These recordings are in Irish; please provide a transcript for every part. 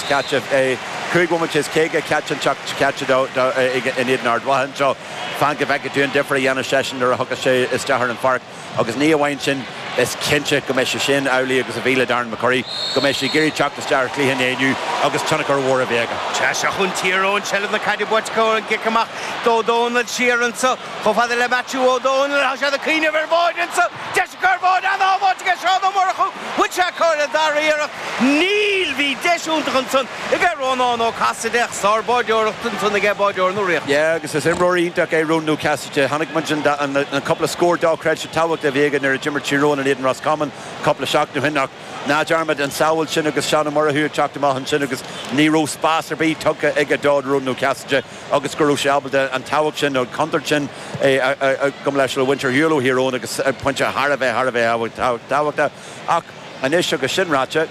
caite, 5 bhomaite is 50 caite an tseachtain seo caite dó in éadan Ard Mhacha anseo. Fan go bhfeicfidh tú an difear a dhéanfas seisean nuair a thiocfas sé isteach ar an pháirc. Agus ní amháin sin, is cinnte go mbeidh sé sin amhlaidh agus a bhí le Darren McCurry, go mbeidh sé ag iarraidh teacht isteach ar chluiche an lae inniu agus tionchar mhór a bheith aige. Sea, seo chugainn Tír Eoghain, seilbh na caide buaite acu an cic amach d'Ó Dónaill siar anso chomh fada le Maitiú Ó Dónaill. Tá siad ag cuimhneamh ar bháide anso, deis acu ar bháide, an-shábháilt aige Seán Ó Murchú. Bhfuil sé acu ar an dara iarracht? Níl! Bhí deis iontach ansan aige Rónán Ó Casaide ach sár-bháideoireacht ansan aige báideoir na Ríochta. Yeah, agus is imreoir iontach é Rónán Ó Casaide. Chonaic muid an cúpla scór dochreidte tábhachtach a bhí aige nuair a d'imir Tír Eoghain in éadan Roscommon cúpla seachtain ó shin ach ná dearmad an tsábháil sin agus Seán Ó Murchú ag teacht amach ansin agus ní raibh spás ar bith tugtha aige do Rónán Ó Casaide agus go raibh sé ábalta an tábhacht sin, an chontúirt sin gabh mo leithscéal a bhaint ar shiúl ó Thír Eoghain agus pointe thar a bheith, thar a bheith tábhachtach. Ach anois agus sin ráite,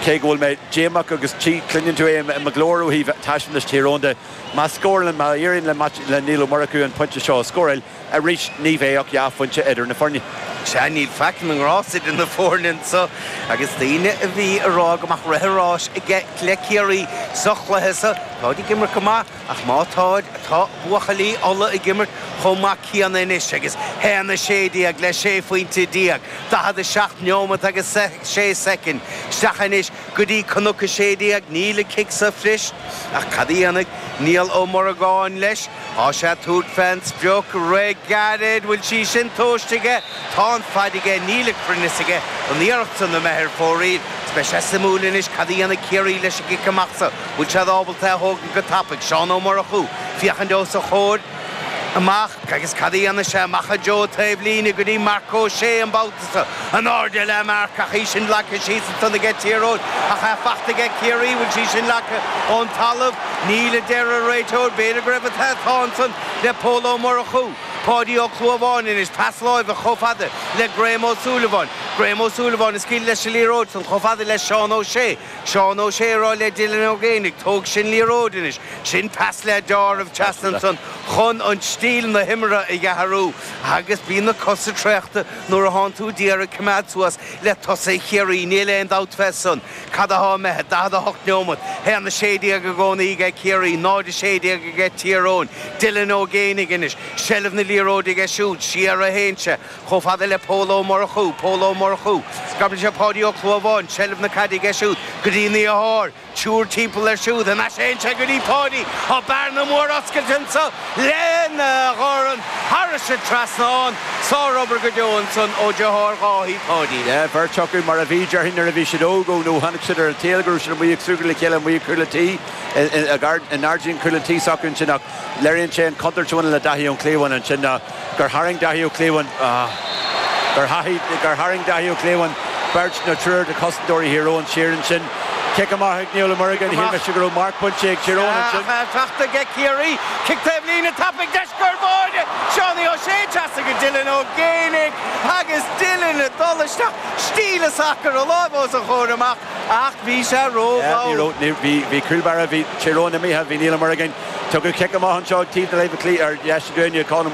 cé go bhfuil mé díomách agus cluineann tú é i mo ghlór ó thaobh taispeántas Thír Eoghain de, má scórálann, má éiríonn le Niall Ó Murchú an pointe seo a scóráil, arís ní bheidh ach dhá phointe idir na foirne. Sea, níl faic na ngrást idir na foirne anso agus daoine a bhí ag rá go mbeadh rith an ráis aige le Ciarraí sa chluiche so, táid ag imirt go maith ach má táid, tá buachaillí Uladh ag imirt chomh maith céanna anois agus 1-16 le 16 phointe, 47 neomat agus 6 soicind isteach anois go dtí Cnoc 16. Níl an cic so fuirist ach cad a dhéanfaidh Niall Ó Morgáin leis? Tá sé ag tabhairt fén sprioc rith gairid. Bhfuil sí sin tomhaiste aige? Tá an faid aige. Níl an cruinneas aige don iarracht san a mbeith ar fóraoil. Is beidh sé suimiúil anois cad a dhéanfaidh Ciarraí leis an gcic amach so. Bhfuil siad ábalta é a thógaint go tapaidh? Seán Ó Murchú féachaint os a chomhair amach agus cad a dhéanfaidh sé? Amach i dtreo taobh líne go dtí Marc Ó Sé an babhta so. In airde le Marc ach í sin leagtha síos ansan aige Tír Eoghain ach é fachta aige Ciarraí. Bhfuil sí sin leagtha ón talamh? Níl a deir an réiteoir. B'fhéidir go raibh an t-atá ansan le Pól Ó Murchú. Páidí Ó Clúmháin anois, pas láimhe chomh fada le Graham Ó Súilleabháin. Graham Ó Súilleabháin ag scaoileadh leis an liathróid san chomh fada le Seán Ó Sé. Seán Ó Sé ag rá le Dylan Ó Géibheannaigh, Tóg sin liathróid anois. Sin pas le deáramh trasna ansan chun an stíl na himeartha a athrú agus bíonn na cosa traochta nuair a thánn tú d'iarraidh coimeád suas le tosaithe Chiarraí, níl aon dabht fé san. Cad athá imithe? 48 neomat, 1-16 i gcónaí aige Ciarraí, 0-16 aige Tír Eoghain. Dylan Ó Géibheannaigh anois, seilbh na liathróide aige siúd, siar a théann sé. Chomh fada le Pól Ó Murchú, Pól Ó Murchú. Scaipeann sé Páidí Ó Clúmháin, seilbh na caide aige siúd go dtí a dheartháir, triúr timpeall air siúd, thar n-ais a théann sé go dtí Páidí. Tá bearna mór oscailte anso lena dhorn thairis an trasnán. Sárobair go deo ansan ó dheartháir Dháithí, Páidí. Yeah, beirt acu mar a bhí, déarfainn, nuair a bhí siad óg, ó nó tháinig siad ar an tsaol go raibh siad amuigh ag súgradh le chéile amuigh ag cúl an tí, i ngairdín cúl an tí s'acu ansin ach léiríonn sé an chontúirt a bhaineann le Dáithí Ó Cliabháin ansin ná gur tharraing Dáithí Ó Cliabháin gur gur tharraing Dáithí Ó Cliabháin beirt nó triúr de chosantóirí Thír Eoghain siar ansin. Cic amach ag Niall Ó Muireagáin, shíl mise go raibh marc bainte ag Tír Eoghain ansin. Fachta aige Ciarraí, cic taobh líne tapaidh, deis ar bháide! Seánie Ó Sé trasna go Dylan Ó Géibheannaigh agus Dylan ag dul isteach, stíl an sacar, a lámh os a chomhair amach ach bhí sé rómhall. Bhí cúl báire, bhí Tír Eoghain imithe, bhí Niall Ó Muireagáin. Tugadh cic amach anseo ag taobh na láimhe clí ar dheis dúinne, Conn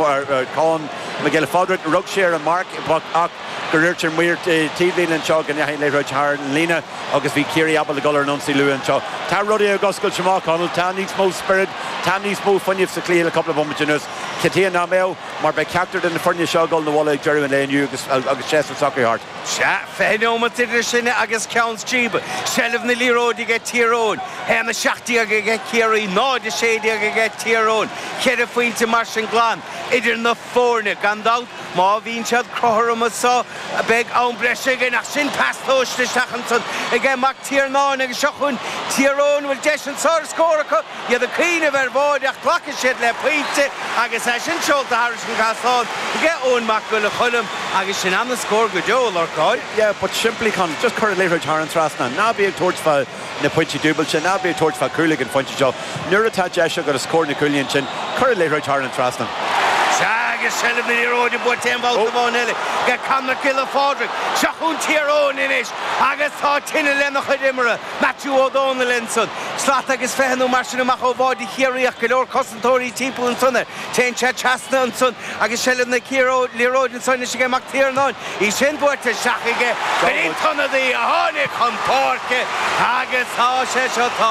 Mac Giolla Phádraig. Rug sé ar an marc ach gur dhúirt an maor taobhlíne anseo go ndeachaigh an liathróid thar an líne agus bhí Ciarraí ábalta dul ar an ionsaí luath anseo. Tá rudaí ag oscailt amach, Conall. Tá níos mó spiorad, tá níos mó fuinnimh sa chluiche le cúpla bomaite anuas. Cad chuige nach mbeadh? Mar beidh ceachtar de na foirne seo ag dul 'na bhaile ag deireadh an lae inniu agus séasúr s'acu thart. Sea, 20 neomat idir sinne agus ceann scríbe. Seilbh na liathróide aige Tír Eoghain. 1-17 aige Ciarraí, 0-16 aige Tír Eoghain. Ceithre phointe mar sin glan idir na foirne. Gan dabht, má bhíonn siad cothrom anso, beidh am breise againn. Ach sin pas tomhaiste isteach ansan aige Mac Tiarnáin agus seo chugainn Tír Eoghain. Bhfuil deis anso ar scór acu? Iad ag cuimhneamh ar bháide ach glacfaidh siad le pointe agus é sin seolta thairis an gcaisleán aige Eoin Mac Giolla Choilm agus sin ana-scór go deo, a Lorcáin. Yeah, but simply Conall, just cuir an liathróid thar an trasnán. Ná bí ag tabhairt fá na pointí dúbailte, ná bí ag tabhairt fá chúl ag an phointe seo. Nuair atá deis agat os comhair na cúilín ansin, cuir an liathróid thar an trasnán. Sea, agus seilbh na liathróide buaite aon bhabhta amháin eile ag Conn Mac Giolla Phádraig. Seo chugainn Tír Eoghain anois agus tá tine lena chuid imeartha. Maitiú Ó Dónaill ansan. Slat agus 20 nó mar sin amach ó bháide Chiarraí ach go leor cosantóirí timpeall ansan air. Téann sé trasna ansan agus seilbh na liathróide ansan anois aige Mac Tiarnáin. Í sin buaite isteach aige go dtí an t-ionadaí a tháinig chun páirce agus tá sé seo.